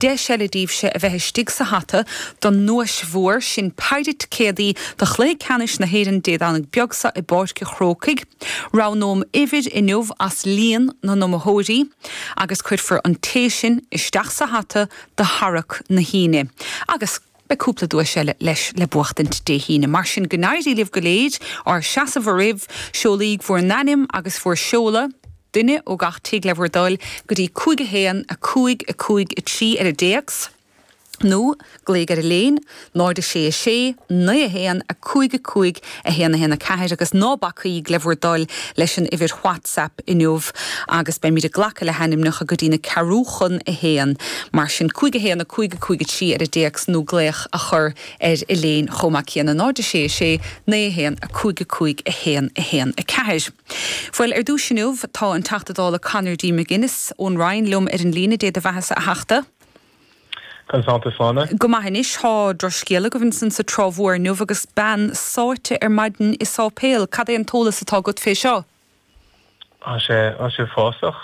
Deis eile daoibhse a bheith istigh sa hata don nduais mhór, sin péire ticéadaí do chluiche ceannais na hÉireann Dé Domhnaigh beag seo i bPáirc a' Chrócaigh. Roghnóm uimhir inniu as líon na n-iomaitheoirí agus cuirfear an té sin isteach sa hata do tharrac na hAoine. Agus beidh cúpla duais eile leis le buachtaint Dé hAoine. Mar sin go n-éirí libh go léir, ár seasamh oraibh, seolaíg bhur n-ainm agus bhur seoladh, duine ó gach tigh le bhur dtoil, go dtí 5 1 5 5 3 ar an dtéacs, nó glaoigh ar an léin, 0 6 6 9 1 5 5 1 1 4 agus ná bacaíg le bhur dtoil leis an uimhir WhatsApp inniu agus beimid ag glacadh le hainmneacha go dtí na ceathrú chun a haon. Mar sin 5 1 5 5 3 ar an dtéacs nó glaoch a chur ar an léin chomh maith céanna, 0 6 6 9 1 5 5 1 1 4. Bhuel, ar dtús inniu, tá an Teachta Dála Conor D. McGuinness ón Rinn liom ar an líne. Dé do bheathasa, a Theachta. Conas tánn tú, Sláine? Go maith anois. Tá drochscéal agaibh ansan sa Trá Mhór inniu agus bean sáite ar maidin i sáipéal. Cad é an t-eolas atá agat fé seo? Tá sé, tá sé uafásach.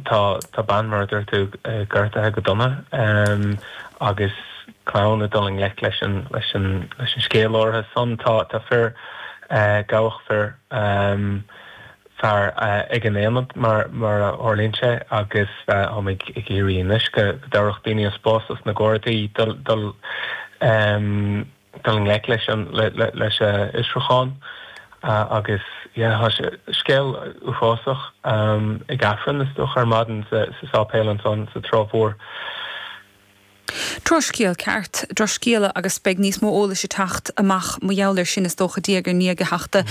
Tá, tá bean, mar a dúirt tú, gortaithe go dona agus clann ag dul i ngleic leis an, leis an, leis an scéal áirithe san. Tá, tá fir, gabhadh fir, fear ag an aonad mar mar a tharlaíonn sé agus táim ag iarraidh anois go dtabharfadh daoine an spás dos na Gardaí dul dul dul i ngleic leis an leis an fhiosrúchán agus yeah tá sé scéal uafásach ag Aifreann is dócha ar maidin sa sáipéal ansan sa Trá Mhór. Drochscéal ceart, drochscéala agus beidh níos mó eolais ag teacht amach mar gheall air sin is dócha diaidh ar ndiaidh a Theachta.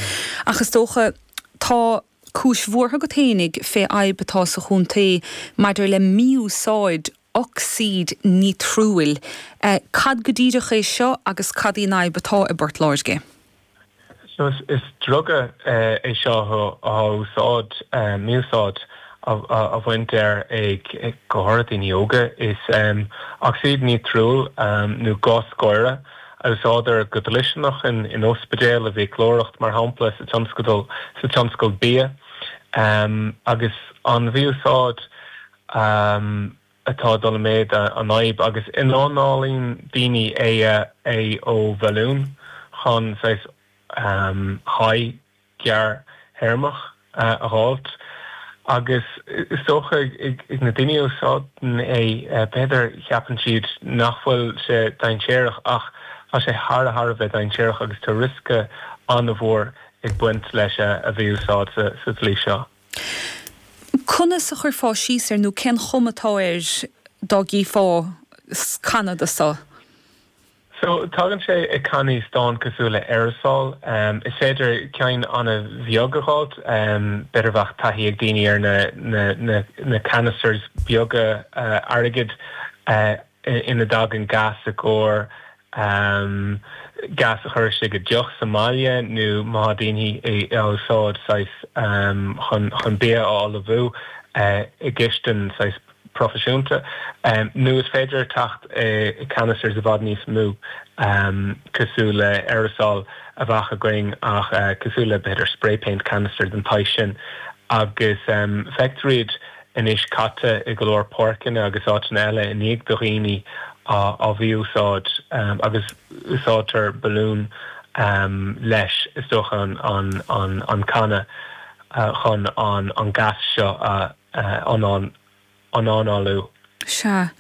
Ach is dócha tá cúis bhuartha agat fhéinig fé fhadhb atá sa chontae maidir le mí-úsáid ocsaíd nítriúil. Cad go díreach é seo agus cad í an fhadhb atá i bPort Láirge? So is druga é seo á úsáid, mí-úsáid á bhaint air ag go háirithe daoine óga. Is ocsaíd nítriúil nó gás gáire a úsáidtear go dlisteanach in ospidéil, i bhfiaclóireacht mar shampla, sa tionscadal, sa tionscal bia. Agus an mhí-úsáid atá ag dul i méad an fhadhb agus ionanálaíonn daoine é é ó bhalún chun saghas high gearrthéarmach a dh'fháilt agus is dócha ag na daoine a úsáideann é b'fhéidir cheapann siad nach bhfuil sé dainséarach ach tá sé thar thar a bheith dainséarach agus tá riosca an-mhór ag baint leis a mhí-úsáid sa tslí seo. Conas a chuirfeá síos air nó cén chuma atá air dá gcífeá canna de seo? So, tagann sé i cannaí stáin cosúil le aerosol. Is féidir ceann an-bheag a dh'fháilt. B'fhéidir bheadh taithí ag daoine ar na, na, na, na canisters beaga airgid ina dtagann gas i gcomhair gas a chur istigh i dteach sa mbaile nó má tá daoine á úsáid saghas chun chun bia a ullmhú i gcistin saghas proifisiúnta nó is féidir teacht i canisters i bhfad níos mó cosúil le aerosol a bheadh againn ach cosúil le b'fhéidir spray paint canister den tsaghas sin agus feictear iad anois caite i go leor páirceanna agus áiteanna eile i ndiaidh do dhaoine á mhí-úsáid agus úsáidtear balún leis, is dócha, an canna chun an gas seo a ionanálú. Sea.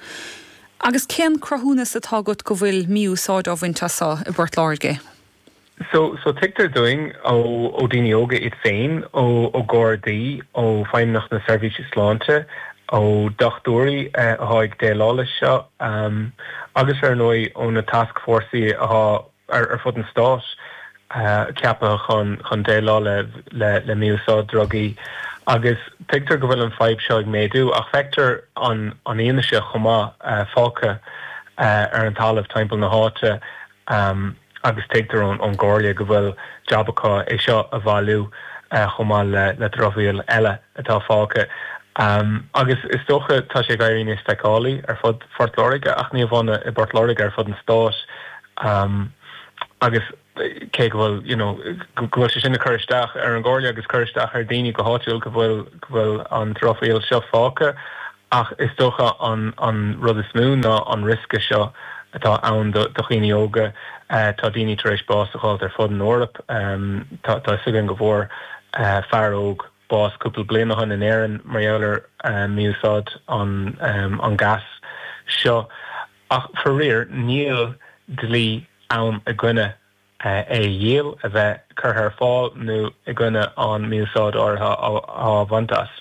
Agus cén cruthúnas atá agat go bhfuil mí-úsáid á bhaint as seo i bPort Láirge? So, so tuigtear dúinn ó, ó daoine óga iad féin, ó, ó Ghardaí, ó Feidhmeannacht na Seirbhíse Sláinte, ó dochtúirí athá ag déileáil leis seo, agus ar ndóigh ó na tascfhórsaí athá ar, ar fud an stáit ceaptha chun, chun déileáil le, le, le mí-úsáid drugaí. Agus tuigtear go bhfuil an fadhb seo ag méadú ach feictear an, an fhianaise chomh maith fágtha ar an talamh timpeall na háite. Agus tuigtear ón gComhairle go bhfuil jab acu é seo a bhailiú chomh maith le dramhaíl eile atá fágtha. Agus is dócha tá sé ag éirí níos feiceálaí ar fud Phort Láirge ach ní amháin i bPort Láirge, ar fud an stáit. Agus cé go bhfuil you know go bhfuil sé sin ag cur isteach ar an gComhairle agus cur isteach ar daoine go háitiúil go bhfuil go bhfuil an dramhaíl seo fágtha. Ach is dócha an an rud is mó ná an riosca seo atá ann do dhaoine óga. Tá daoine tar éis bás a dh'fháilt ar fud an Eoraip. Tá tá fhios againn go bhfuair fear óg bás cúpla bliain ó shin in Éirinn mar gheall ar mí-úsáid an an gas seo. Ach faraor níl dlí ann i gcoinne é a dhíol, a bheith curtha ar fáil nó i gcoinne an mí-úsáid áirithe á bhaint as.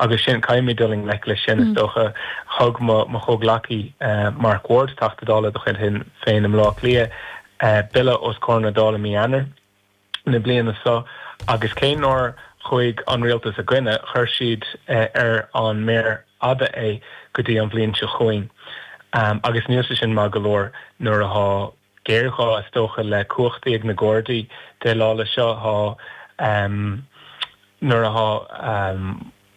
Agus sin, caithfimid dul i ngleic leis sin, is dócha. Thug mo chomhghleacaí Mark Ward, Teachta Dála de chuid Shinn Féin i mBleá Cliath, bille os comhair na Dála mí Eanáir na bliana seo agus cé nár chuaigh an rialtas i gcoinne, chuir siad ar an méar fhada é go dtí an bhliain seo chugainn. Agus níl sé sin maith go leor nuair atá géarghá, is dócha, le cumhachtaí ag na Gardaí déileáil leis seo. Tá, nuair atá,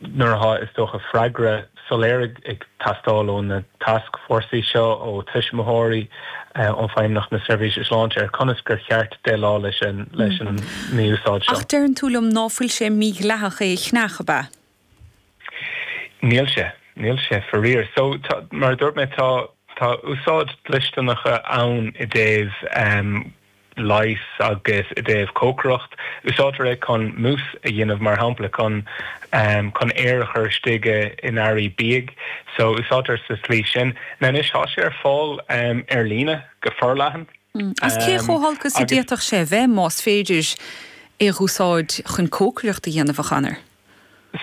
nuair atá, is dócha, freagra soiléir ag teastáil ó na tascfhórsaí seo, ó tuismitheoirí, ó Feidhmeannacht na Seirbhíse Sláinte ar conas gur cheart déileáil leis an, leis an mí-úsáid seo. Ach deireann tú liom ná fuil sé mídhleathach é a cheannach, ab ea? Níl sé. Níl sé, faraor. So, tá, mar a dúirt mé, tá, tá úsáid dlisteanacha ann i dtaobh leighis agus i dtaobh cócaireacht. Úsáidtear é chun mousse a dhéanamh, mar shampla, chun, chun aer a chur istigh in earraí bídh. So, úsáidtear sa tslí sin. Now anois, tá sé ar fáil ar líne go forleathan. Agus cé chomh holc is a d'fhéadfadh sé a bheith más féidir é a dh'úsáid chun cócaireacht a dhéanamh, a Chonor?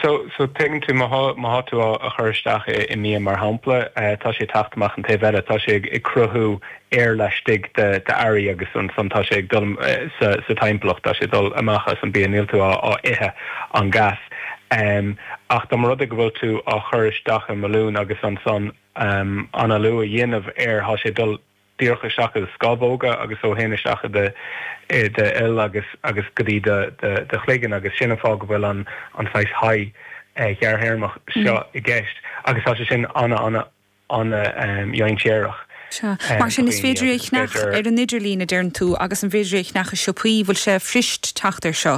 So, so tuigeann tú, má thá, má thá tú á a chur isteach i, i mbia mar shampla, tá sé ag teacht amach an taobh eile, tá sé ag, ag cruthú aer laistigh de, d'earraí agus ansan tá sé ag dul sa, sa timpeallacht, tá sé ag dul amach as an bia, níl tú á, á ithe an gas. Ach dá mba rud é go bhfuil tú á chur isteach i mbalún agus ansan análú a dhéanamh air, thá sé ag dul díreach isteach i do scamhóga agus ó shin isteach i do i do fhuil agus agus go dtí do do do chloigeann agus sin an fáth go bhfuil an an saghas high ghearrthéarmach seo i gceist agus tá sé sin ana ana ana dhainséarach Sea. Mar sin is féidir é a cheannach ar an idirlíon a deireann tú agus an bhféidir é a cheannach i siopaí? Bhfuil sé fuirist teacht air seo?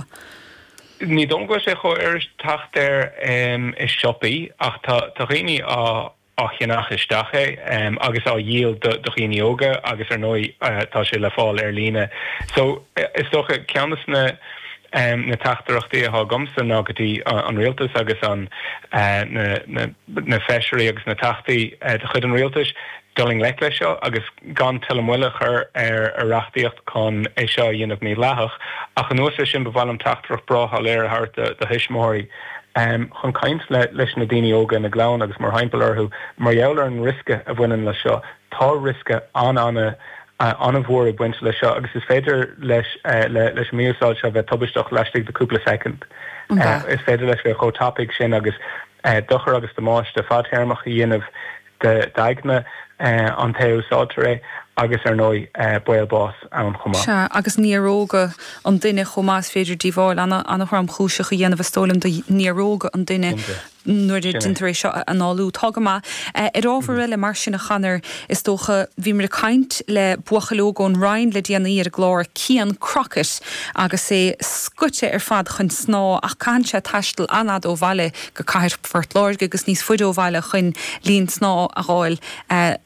Ní dóigh liom go bhfuil sé chomh fhuirist teacht air i siopaí ach tá tá dhaoine á á cheannach isteach é agus á dhíol do dhaoine óga agus ar ndóigh tá sé le fáil ar líne. So is dócha ceann de na na teachtaireachtaí atá agamsa ná go dtí an rialtas agus an na na na feisirí agus na teachtaí de chuid an rialtais dul i ngleic leis seo agus gan tuilleadh moille a chur ar ar reachtaíocht chun é seo a dhéanamh mídhleathach. Ach anuas air sin ba mhaith liom teachtaireacht breá shoiléir a thabhairt do do thuismitheoirí. chun caint leis na daoine óga ina gclann agus mórthimpeall orthu mar gheall ar an riosca a bhaineann leis seo. Tá riosca an-an-an-mhór ag baint leis seo agus is féidir leis leis an mí-úsáid seo bheith tubaisteach laistigh de cúpla soicind. Is féidir leis bheith chomh tapaidh sin agus dochar agus damáiste fadtéarmach a dhéanamh d'aigne an té a úsáidtear é agus, ar ndóigh, baol báis ann chomh maith. Sea, agus néaróga an duine chomh maith, is féidir díobháil an-thromchúiseach a dhéanamh, is dóigh liom, do néaróga an duine nuair a déantar é seo a análú. Tá go maith. Ar ábhar eile, mar sin, a Chonor, is dócha, bhíomar ag caint le buachaill óg ón Rinn le déanaí ar an gclár, Cian Crockett, agus é scoite ar fad chun snámha ach caitheann sé taisteal an-fhada ó bhaile go cathair Phort Láirge agus níos faide ó bhaile chun linn snámha a dh'fháil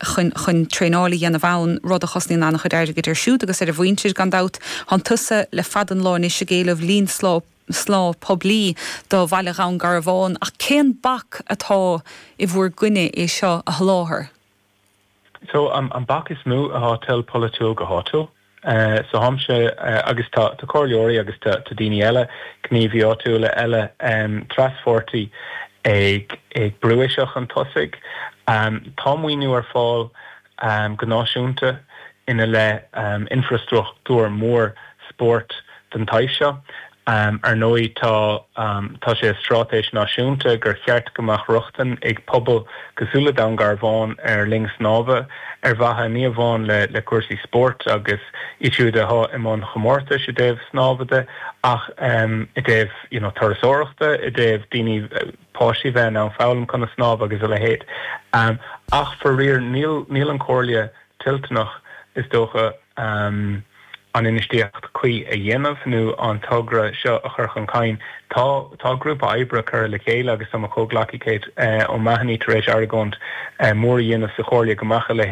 chun chun traenáil a dhéanamh ann, rud a chosnaíonn an-chuid airgid air siúd agus ar a mhuintir, gan dabht. Tánn tusa le fada an lá anois ag éileamh linn snámha poiblí do bhaile Dhún Garbhán, ach cén bac atá i bhúr gcoinne é seo a sholáthar? So, an bac is mó atá toil polaitiúil go háitiúil. So tháimse agus tá comhairleoirí agus tá daoine eile, gníomhaí áitiúla eile traspháirtí ag brú é seo chun tosaigh. Tá maoiniú ar fáil go náisiúnta ina leith infreastruchtúr mór spóirt den tsaghas seo. Ar ndóigh tá tá sé i straitéis náisiúnta gur cheart go mbeadh rochtain ag pobail cosúil le Dún Garbhán ar linn snámha ar mhaithe ní amháin le le cúrsaí spóirt agus iad siúd atá i mbun chomórtais i dtaobh snámha de ach i dtaobh you know turasóireachta, i dtaobh daoine páistí bheith in ann foghlaim conas snámh agus a leithéid. Ach faraor níl níl an Chomhairle toilteanach is dócha. an infheistíocht cuí a dhéanamh nó an togra seo a chur chun cinn. Tá tá grúpa oibre curtha le chéile agus tá mo chomhghleacaí Kate O'Mahony tar éis argóint mór a dhéanamh sa Chomhairle go mbeadh a leithéid.